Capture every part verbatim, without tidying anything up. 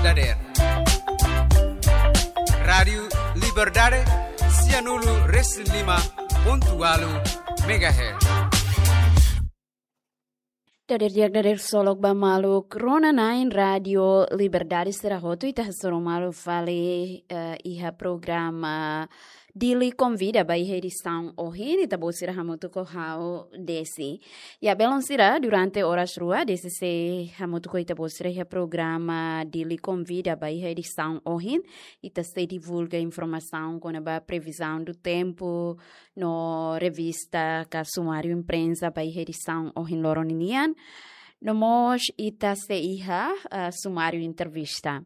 dadeer. Rádiu Liberdade, sianulu resin lima pontu walu megahertz. Dadeer di'ak, dadeer solok ba maluk rona-na'in Rádiu Liberdade sira hotu, ita hasoru malu fali, eh, iha programa Dili Konvida ba iha edisaun ohin, ita-boot sira hamutuk ho ha'u Desi. Ya, belun sira, durante oras rua, Desi sei hamutuk ho ita-boot sira iha programa Dili Konvida ba iha edisaun ohin, ita sei divulga informasaun kona-ba previsão do tempo, no revista ka sumáriu imprensa ba iha edisaun ohin loron ninian. No mós ita sei iha, ah, sumáriu entrevista.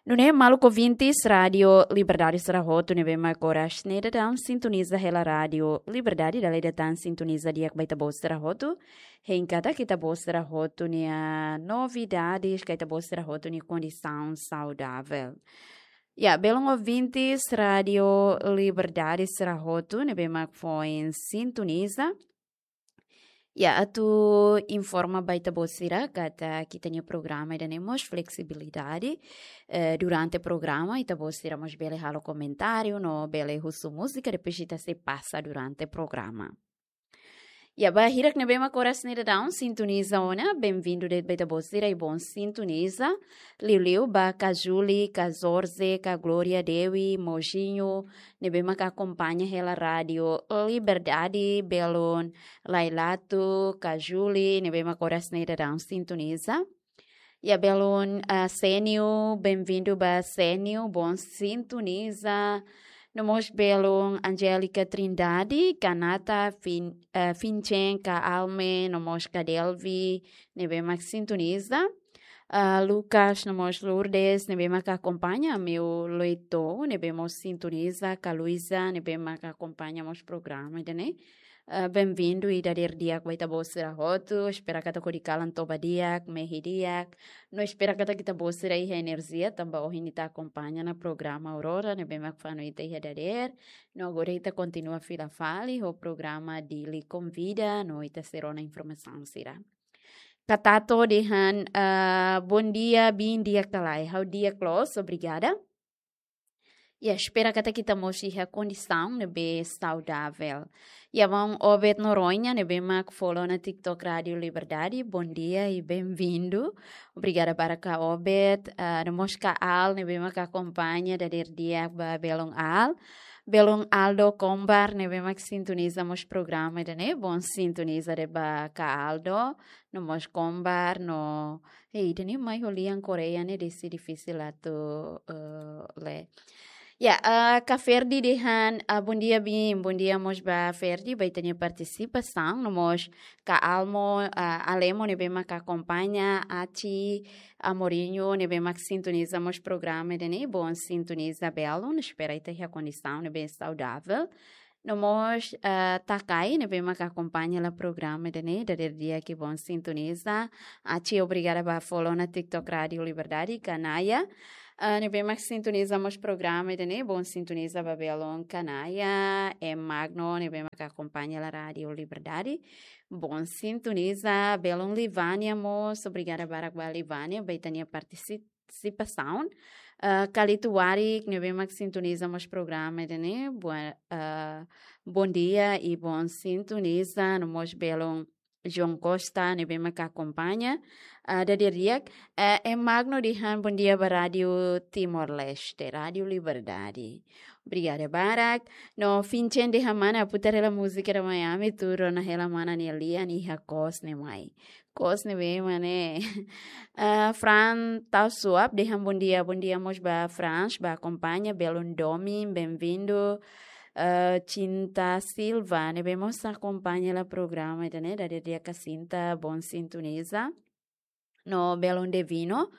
Nune'e maluk ouvintes Rádiu Liberdade sira hotu ne'ebé mak oras ne'e daudaun sintoniza hela Rádiu Liberdade, dala ida tan sintoniza di'ak ba ita-boot sira hotu. Hein katak ita-boot sira hotu nia novidades, ka ita-boot sira hotu nia kondisaun saudável. Ya, belun ouvintes Rádiu Liberdade sira hotu ne'ebé mak foin sintoniza. Ya, atu informa ba ita-boot sira katak ita-nia programa ida-ne'e mós fleksibilidade. Eh, durante programa, ita-boot sira mós bele halo komentáriu, no bele husu múzika, depois ita sei pasa durante programa. Ya, ba hirak ne'ebé mak oras ne'e daudaun sintoniza ona, benvindu de'it ba ita-boot sira i bon sintoniza. Liuliu ba ka Julie, ka Jorge, ka Gloria Dewi, Mojinho, ne'ebé mak akompaña hela Rádiu Liberdade, belun Lailatu, ka Julie, ne'ebé mak oras ne'e daudaun sintoniza. Ya, belun, ah, Senio, benvindu ba Senio, bon sintoniza. No mós belun Angélica Trindade, ka Nata, Fin-, eh, Finchen, ka Alme, no mós ka Delvi, ne'ebé mak sintoniza. Ah, Lucas, no mós Lourdes, ne'ebé mak akompaña, Meu Loito, ne'ebé mós sintoniza, ka Luisa, ne'ebé mak akompaña mós programa ida-ne'e. Ah, benvindu i dadeer di'ak ba ita-boot sira hotu, espera katak hodi kalan toba di'ak, mehi di'ak. No espera katak ita-boot sira iha enerjia, tanba ohin ita akompaña ona programa Aurora, ne'ebé mak fanu ita iha dadeer. No agora ita kontinua fila fali ho programa Dili Konvida, no ita sei rona informasaun sira. Ka Tato dehan, ah, bom dia, bin di'ak ka lae, ha'u di'ak loos, obrigada. Ya, espera katak ita mós iha kondisaun ne'ebé saudável. Ya, maun Obed Noronha, ne'ebé mak follow ona TikTok Rádiu Liberdade, bom dia i benvindu. Obrigada barak ka Obed, ah, no mós ka Al, ne'ebé mak akompaña dadeer di'ak ba belun Al. Belun Aldo Kombar, ne'ebé mak sintoniza mós programa ida-ne'e, bon sintoniza de'it ba ka Aldo, no mós Kombar, no, eh, ida-ne'e mai ho lian Koreia ne'e desi difisil atu, eh, lee. Ya, eh, ka Ferdi dehan, ah, bom dia, bin, bom dia mós ba Ferdi, ba ita-nia partisipasaun, no mós ka Almo, ah, Alemo ne'ebé mak akompaña, Aci, Amorinho, ne'ebé mak sintoniza mós programa ida-ne'e, bon sintoniza belun, espera ita iha kondisaun ne'ebé saudável. No mós, eh, Takai, ne'ebé mak akompaña hela programa ida-ne'e, dadeer di'ak i bon sintoniza. Aci, obrigada ba follow ona TikTok Rádiu Liberdade, ka Naya. Eh, ne'ebé mak sintoniza mós programa ida-ne'e, bon sintoniza ba belun ka Naya. E Magno, ne'ebé mak akompaña hela Rádiu Liberdade, bon sintoniza. Belun Livania mós, obrigada barak ba Livania, ba ita-nia partisi-, partisipasaun. Eh, Kalito Warik, ne'ebé mak sintoniza mós programa ida-ne'e, bua-, eh, bom dia i bon sintoniza, no mós belun João Costa, ne'ebé mak akompaña. Eh, dadeer di'ak, eh, e Magno dehan bom dia ba Rádiu Timor-Leste, Rádiu Liberdade. Obrigada barak. No Finchen dehan mana, putar hela múzika ida mai ami, atu rona hela mana nia lian iha kos ne'e mai. Kos ne'ebé mak ne'e. Ah, Fran Tau Suap dehan bom dia, bom dia mós ba Frans, ba akompaña, belun Domi, benvindu. Ah, Cinta Silva, ne'ebé mós akompaña hela programa ida-ne'e, dadeer di'ak ka Cinta, bon sintoniza. No belun Devino,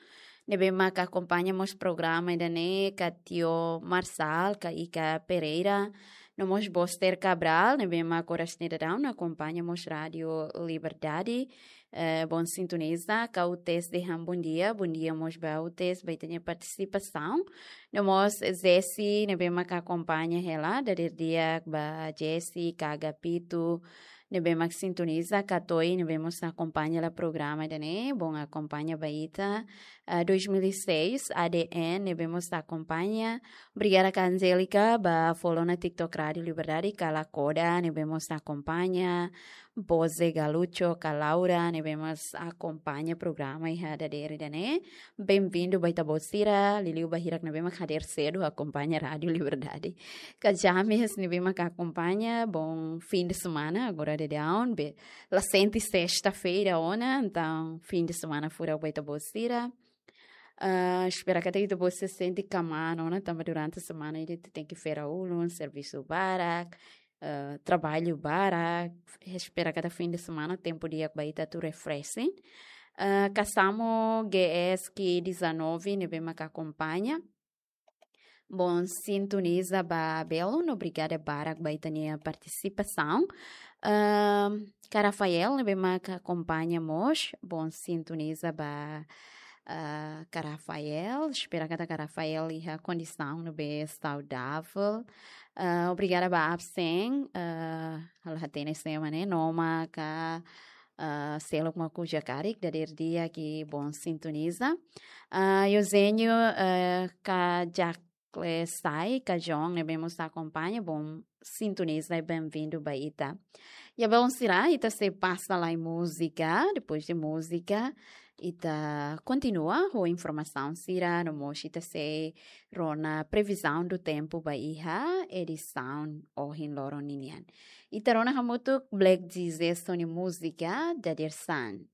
ne'ebé mak akompaña mós programa ida-ne'e, ka Tio Marsal, ka Ika Pereira, no mós Boster Cabral, ne'ebé mak oras ne'e daudaun akompaña mós Rádiu Liberdade, eh, bon sintoniza, ka Utes dehan bom dia, bom dia mós ba Utes, ba ita-nia partisipasaun. No mós Zesi, ne'ebé mak akompaña hela, dadeer di'ak ba Zesi, ka Agapito, ne'ebé mak sintoniza, ka to'o ne'ebé mós akompaña hela programa ida-ne'e, bom akompaña ba ita, ah, dois mil e seis, A D N, ne'ebé mós akompaña. Obrigada ka Angélica, ba follow ona TikTok Rádio Liberdade, ka Lakoda, ne'ebé mós akompaña, Boze Galucho, ka Laura, ne'ebé mós akompaña programa iha dadeer ida-ne'e. Bem-vindo ba ita-boot sira, liuliu ba hirak ne'ebé mak hadeer sedu akompaña Rádio Liberdade. Ka James, ne'ebé mak akompaña, bom fim de semana, agora daudaun, be, la sente sesta-feira ona, entaun fim de semana furak ba ita-boot sira. Ah, espera katak ita-boot sira sente kmaan ona, tanba durante semana ita tenke fera ulun, servisu barak, ah, traballu barak, espera katak fim de semana tempu di'ak ba ita atu refreshing. Ah, ka Samo G S Q dezanove, ne'ebé mak akompaña. Bom sintoniza ba belun, obrigada barak ba ita-nia partisipasaun. Ahn, ka Rafael, ne'ebé mak akompaña mós, bom sintoniza ba, ah, ka Rafael. Espera katak ka Rafael iha kondisaun ne'ebé saudável. Ah, obrigada ba absen, ah, halo hatene sema ne'e, Noma ka, ah, seluk mak uza karik, dadeer di'ak, bom sintoniza. Ah, Eugenio, ah, ka Jack Klesai, ka John, ne'ebé mós akompaña, bom sintoniza, bem-vindo ba ita. Ya belun sira, ita sei pasa lai múzika, depois de múzika, ita kontinua ho informasaun sira, no mós ita sei rona previzaun do tempu ba iha edisaun ohin loron ninian. Ita rona hamutuk Black Jesus nia múzika, Dadeer-san.